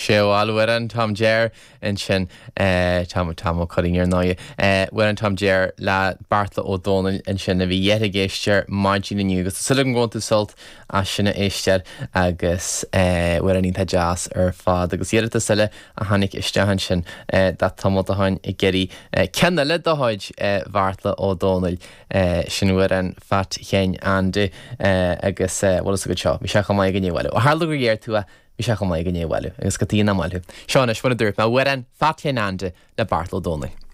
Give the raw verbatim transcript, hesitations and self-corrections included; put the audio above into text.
Sé amhrán Tom Jer ansin Tom Tom Ó Curraoin ar ndóigh. Amhrán Tom Jer le Beartla Ó Domhnaill ansin a bhí ag éisteacht maidin inniu agus súil agam go bhfuil tú sult as sin a éisteacht agus amhrán iontach deas ar fad agus iarratas eile a tháinig isteach ansin de Tom Ó Dubhcháin ag iarraidh ceann eile de chuid Bheartla Ó Domhnaill sin amhrán Phat Sheáin Andy agus bhfuil go seo, bhí sé chomh maith againne bhile. Ó tharla gur dhéir tú bhí sé chomh maith againne bhile agus go tí na máil. Seo anois mar a dúirt mé amhrán Phat Sheáin Andy le Beartla Ó Domhnaill.